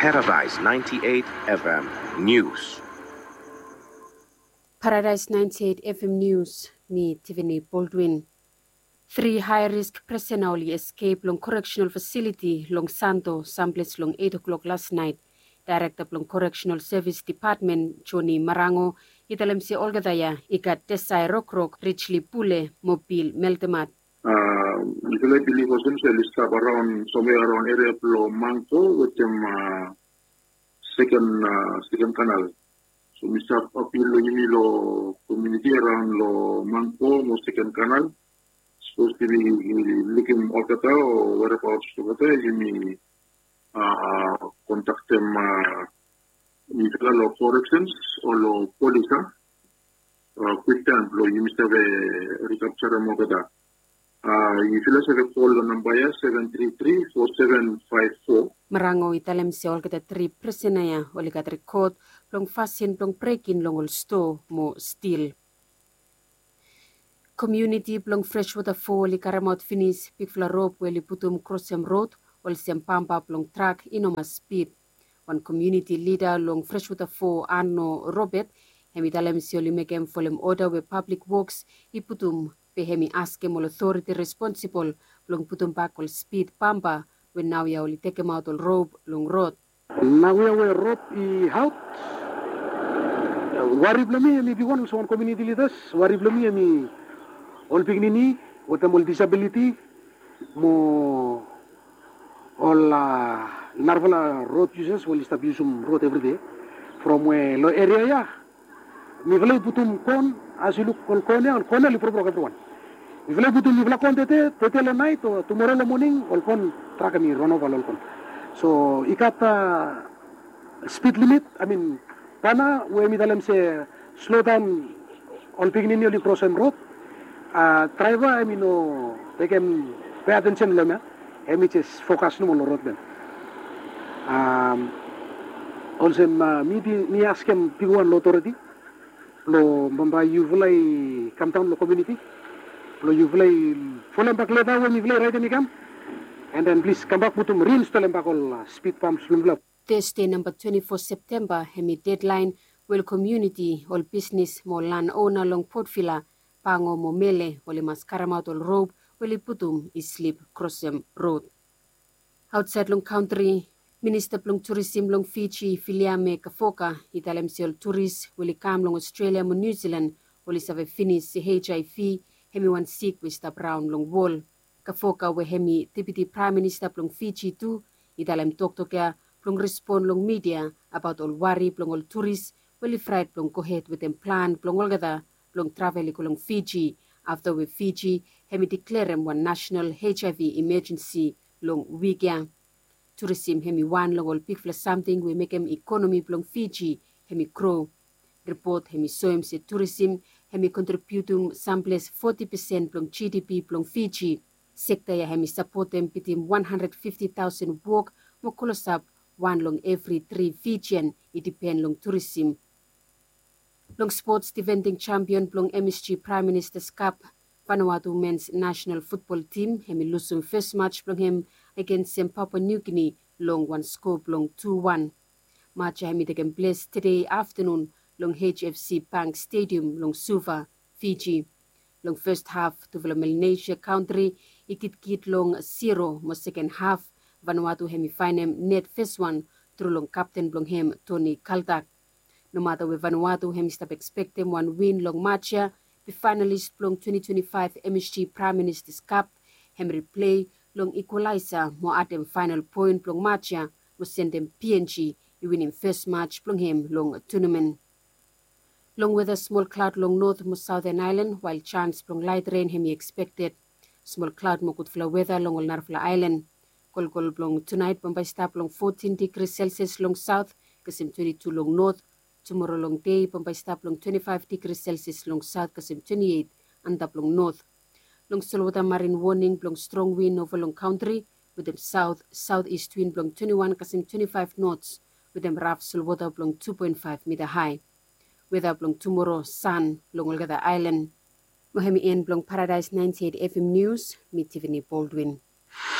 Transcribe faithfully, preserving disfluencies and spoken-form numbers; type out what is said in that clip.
Paradise ninety-eight F M News. Paradise ninety-eight F M News, mi Tiffany Baldwin. Tri high risk prisena oli escape long correctional facility long Santo, samples long eight o'clock last night. Director blong Correctional Service Department, Johnny Marango, i talem se olgeta ya i gat Desai Rokrok, Richly Pule mo Bill Meltemat. Mifala i bilif olsem se oli stap around, somewhere around area blong Mangko wetem second, second kanal. So mi stap apil long yumi long community around long Mangko mo second kanal. Sapos yumi lukim olgeta o whereabouts olgeta, yumi kontaktem mifala long corrections o long polis, a, kwiktaem blong yumi save recapturem olgeta. Yufala save kol long namba ya, seven three three four seven five four. Marango i talem se olgeta tri prisena ya oli gat rekod blong fasin blong brekin long ol stoa mo stil. Komuniti blong Freshwater Four oli karemaot finis bigfala rop we oli putum krosem rod olsem bampa blong trak i no mas spid. Wan komuniti lida long Freshwater Four, Anno Robert, hem i talem se oli mekem folem oda we Pablik Woks i putum, be hem i askem ol otoriti responsibol blong putumbak ol spid bampa we naoia oli tekemaot ol rop long rod. Naoia we rop i aot, wari blong mi hem i bigwan olsem wan komuniti lidas. Wari blong mi hem i ol pikinini wetem ol disabiliti mo ol narafala rod yusas we oli stap yusum rod evri dei. From we long eria ya mifala i putum kon, as yu luk ol kon ya, ol kon ya oli brokbrok evriwan. Mifala i putum mifala kon tede, tede long naet o tumora long moning, ol kon trak hem i ronova long ol kon. So i gat spid limit, I mean, bana we hem i talem se slodaon ol pikinini oli krosem rod. Draeva hem i no tekem pe atensen long hem ya. Hem i jes fokas nomo long rod ya. Olsem mi askem bigwan long otoriti blong bambae yufala i kamdaon long komuniti blong yufala i folem bak leta we mifala i raetem i kam, and then plis kambak putum, reinstolem bak ol spid bamps blong mifala. Tesde namba twenti fo Septemba hem i dedlaen we ol komuniti, ol bisnis mo ol lanona long Port Vila, Bango mo Mele oli mas karemaot ol rop we oli putum i slip krosem rod. Aotsaed long kantri, Minista blong Turisim long Fiji, Viliame Kafoka, i talem se ol turis we oli kam long Ostrelia mo Niu Silan oli save finis se HIV hem i wan sik we i stap raon long wol. Kafoka we hem i Deputi Praem Minista blong Fiji tu, i talem toktok ya blong respon long midia abaot ol wari blong ol turis we oli fraet blong gohed wetem plan blong olgeta blong travel i go long Fiji, afta we Fiji hem i deklarem wan nasenal HIV imajensi long wik ya. Turisim hem i wan long ol bigfala samting we mekem ikonomi blong Fiji hem i gro. Ripot hem i soem se turisim hem i kontribiutum samples foti pesen blong GDP blong Fiji. Sekta ya hem i sapotem bitim wan handred fifti taosen wok mo klosap wan long evri tri Fijian i dipen long turisim. Long spots, difending champion blong MSG Prime Minister's Cup, Vanuatu men's national football team, hem i lusum fes match blong hem agensem Papua New Guinea long wan skoa blong tu wan. Match ya hem i tekem ples tede aftanun long HFC Bank Stadium long Suva, Fiji. Long fes haf, tufala Melanesia kantri i kitkit long zero, mo seken haf, Vanuatu hem i faenem net fes wan tru long kapten blong hem, Tony Kaltak. Nomata we Vanuatu hem i stap ekspektem wan win long match ya, be faenalis blong twenti twenti faef MSG Prime Minister's Cup hem riple long ikwalaesa mo adem faenal poen blong match ya mo sendem PNG i winim fes match blong hem long tunamen. Long weta, smol klaod long not mo saoten aelan, wael jaens blong laet ren hem i ekspekted. Smol klaod mo gudfala weta long ol narafala aelan. Kolkol blong tunaet bambae i stap long fotin digri Celsius long saot kasem twenti tu long not. Tumoro long dei bambae i stap long twenti faef digri Celsius long saot kasem twenti eit antap long not. Long solwota, marin woning blong strong win ova long kantri wetem saot saotis win blong twenti wan kasem twenti faef nots wetem raf solwota blong tu poen faef mita hae. Weta blong tumoro, san long olgeta aelan. Mo hem i en blong Paradaes naenti eit FM Nius, mi Tiffany Baldwin.